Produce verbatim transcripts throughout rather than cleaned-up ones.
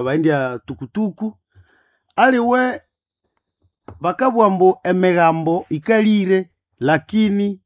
Abaendya tukutuku aliwe bakabugha ambu emigambo ikalire lakini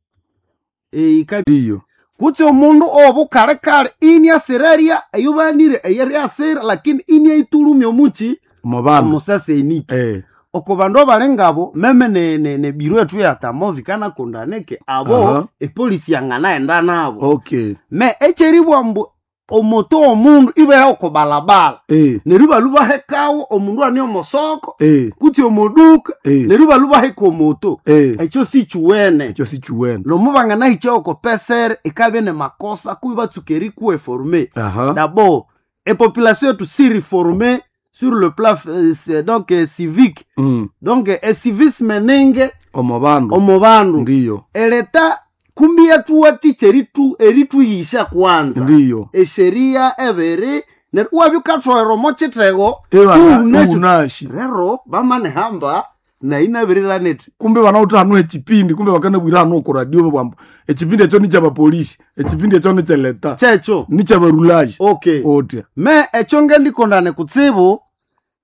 ika Ndiyo. kutse omundu owobukalekale iniasirerya eyobanire eyeryasira lakini iniaitulumya omuki Omo bandu. omusaseniki Eh. oko bandu abali ngabo meme ne- ne- nebiro ethu yatamovi kanakondaneke abo Aha. epolisi yanganaghenda nabo Okay. me ekyeribugha ambu omoto w'omundu ibeha oko balabala Eh. neryo ibalwa ibahekawo omundu ane omosoko Eh. kutse omoduka Eh. neryo ibalwa ibaheka omoto Eh. ekyo sikiwene Ekyo sikiwene. nomubanganahicha oko pesere ikabya nemakosa kubi batsuka erikuwa eforme Aha. d'abord epopulation yetu si reforme sur le plan euh, c'est donc euh, civique Mm. donc ecivisme ninge Omo bandu. omo bandu Ndiyo. eleta kumbi yathuwathikya eritu erituyisha kwanza Ndiyo. esheria ebiri neryo iwabya wukathoghera omo kithego Ebana iwunasi- unashi. rero bamanihamba nayi nabiriranete Kumbe banawutha hanu echipindi kumbe bakanabwira hanu oko radio babwambu echipindi ekyo nikyabapolisi echipindi ekyo nikyeleta kyekyo nikyabarulaji okay otya me ekyo ngendikondane kutsibu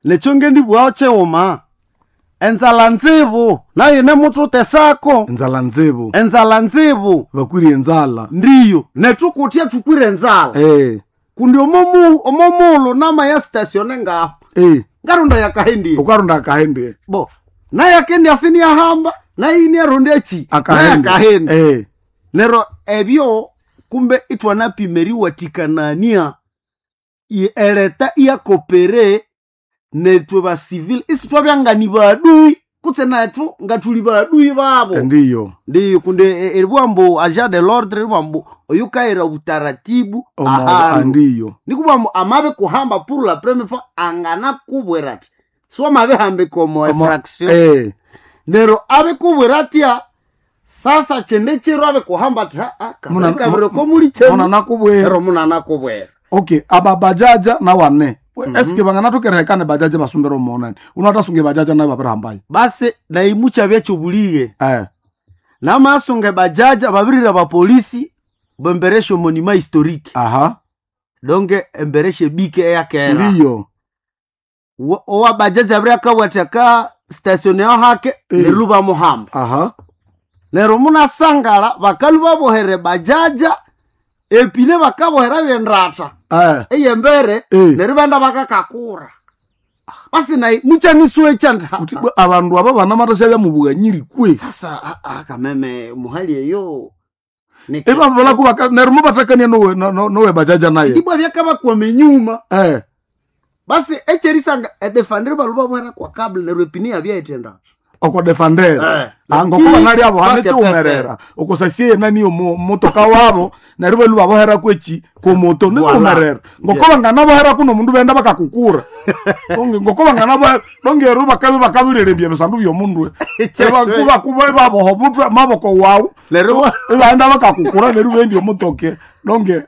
nekyo ngendibughaho kyighuma enzala nzibu nayo nemuthutesako enzala nzibu enzala nzibu bakwire enzala ndiyo nethukuthya thukwire enzala eh kundi omomu omomulhu namaya statione ngaho eh ngarunda yakahendiye ukarunda akahende bo nayakendi asiniyahamba nayiniarunda eki akahende nayakahenda eh nero ebyo kumbe ithwanapima eriwathikanania i- eleta iyakopere nethu basivile isithwabyangani badui kutse nethu ngathuli badui babo ndiyo ndiyo kundi e- eribugha ambu agent de l'ordre eribugha ambu oyukayira obutaratibu omo ahandu ndiyo nikubugha ambu amabe kuhamba pour la première fois anganakubwira athi siwamabihambika omo Omo- efraction eh nero abikubwira atya sasa kyende kiro abikuhamba athi "Ah, Muna- kabiri komuli muna kyenu nakubwira ero munanakubwira okay aba bajaja nawane eske banganathukerehekana bajaja basumbira omonani unatasunga bajaja nayo babirihambayo basi naimukyabya kyobulighe eh namasunga bajaja babirira bapolisi bembereshe monima historique aha donke embereshe bike eyakera ndiyo Wa- owa bajaja abiri akabwatha ka station yaho hake Eh. neryo bamuhamba aha neryo munasangala bakalu babohere bajaja epine bakabohera byendatha eh eyembere Eh. neryo benda bakakakura basi nayi muchanisuwe chanda Uthi bwe abandu aba banamathasya byamubughanyiri kwe sasa ah, ah, kameme muhali eyo ebabalaku neryo mubathakania nowe no- no- nowe bajaja naye ndibwa byakabakwama enyuma eh basi ekyerisanga edefandere balu babohera kwa kabla neryo epine yabyaitenda oko defandera Eh. ngokuba nali abo hane Bake chiwumerera okosasiye nani omo motoka wabo neryo balu babohera kwechi komoto Voilà. niwumerera ngokuba nganabohera kuno mundu benda bakakukura Donge ngokuba nganabohera donge ero bakabe bakabirerembya ebisandu byomundu kuba kuba baboha omutwe maboko wawu Neryo- ibaenda bakakukura neryo bendi omutoke donge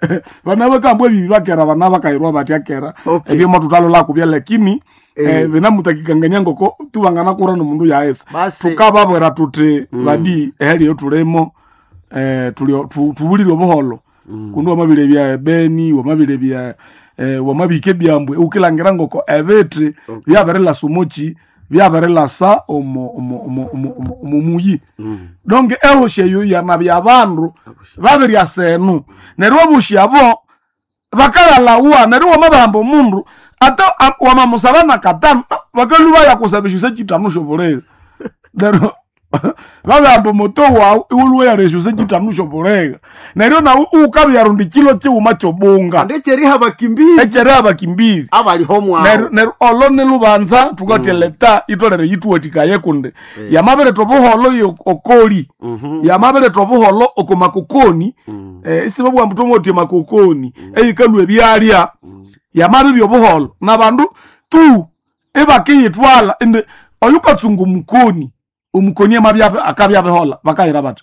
bana bakambwa ebibi bakera bana bakayirwa batya kera Okay. ebyo mathutalolakubya lakini eh, binamutakikangania ngoko tubanganakura nomundu yaesa Basi. tukababwera tuthi badi ehali eyo tulimo eh, tulio- tu- tubulire obuholo kundi wamabire bya ebeni wamabire bya eh, wamabika ebyambwe ukilangira ngoko ebithi byabirilasa omoki byabirilasa omo omo omo omo omo- omo muyi donge ehoshi eyo yanabya abandu babiryasa enu neryo obushi abo bakalalawa neryo wamabahamba omundu ate a- wamamusaba na katano bakalu bayakusaba eshusa chitano shobulega neryo babahamba omoto wawu iwulwe yala eshusa chitano shobulega neryo nawe ukabyarunda kilo chiwuma chobunga ndekyeriha bakimbizi ekyeri abakimbizi abaliho neryo mwawo neryo olo nilubanza thukathya leta itolere yithuwathikaye kundi yamabiretha obuholo yo- okoli yamabiretha obuholo oko makokoni eh, isibabugha mbu thomotya makokoni eyikalwa ebyalya yamabibya obuholo nabandu tu ibakiyithwala indi oyukatsunga omukoni omukoni amabya akabya abihola bakayira bathi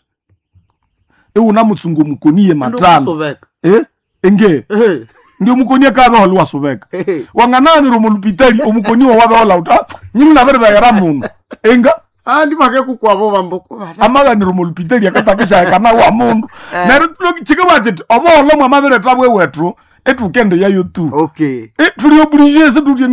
iwunamutsunga omukoni ye matano Ndokusubeka. eh enge Ehe. ndio mukoni akabehola iwasubeka Ehe. wangananira omulupitali omukoni wawabehola uti "Ah, nyini nabiribeghera muno enga Ah, ndibakekukwabo bambo amaganira omulupitali akatakishahekana wa mundu neryo chikabwa chiti obuholo mwamabiretha bwewethu Etukende yayo tu. Okay. Eh, tuli obligé se tutye